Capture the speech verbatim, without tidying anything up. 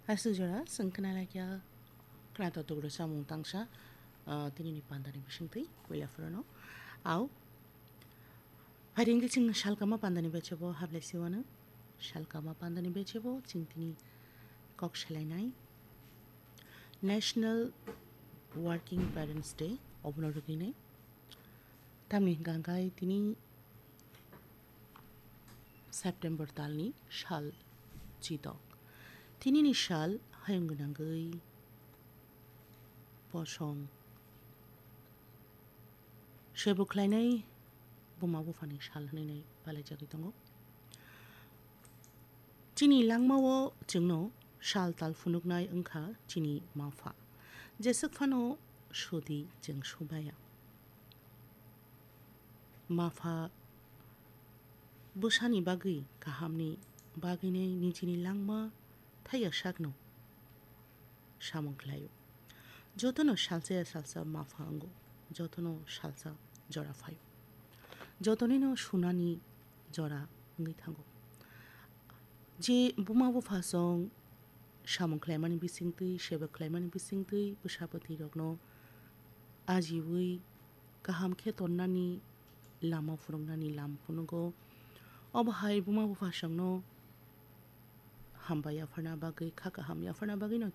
Aswk jora chwng khna laikya khna totok rwchapmung tangsa, ah, tinini pandani bisingtwi puila phorono. Au, phaidi chwng salkama pandani bechebo hablai siwano. Salkama pandani bechebo chwng tini kok selainai National Working Parents Day obono rwgwinai. Tamni hwnkha hwnkhe tini September talni sal chitok. Tinini sal hayung gwnangwi posong sebo khlainai buma buphani sal hwnwi palaijagwi tongo. Chini langmao chwngno sal tal phunuknai wngkha chini mapha. Jeswk phano sudi chwng subaya. Mapha bwsani bagwi kahamni bagwinai nijini langma thaiya sakno samung khlaio. Jotono salsa ya salsa mapha wngo, jotono salsa jora phaio. Jotonino sunani jora wngwi thango. Je buma buphasong samung khlaimani bisingtwi, seba khlaimani bisingtwi bwsa bwtwirokno ajiui kaham khe tonnani lama phunuknani lam phunugo. Obo hai buma buphasongno hambai yapharna bagwi, kha kaham yapharna bagwino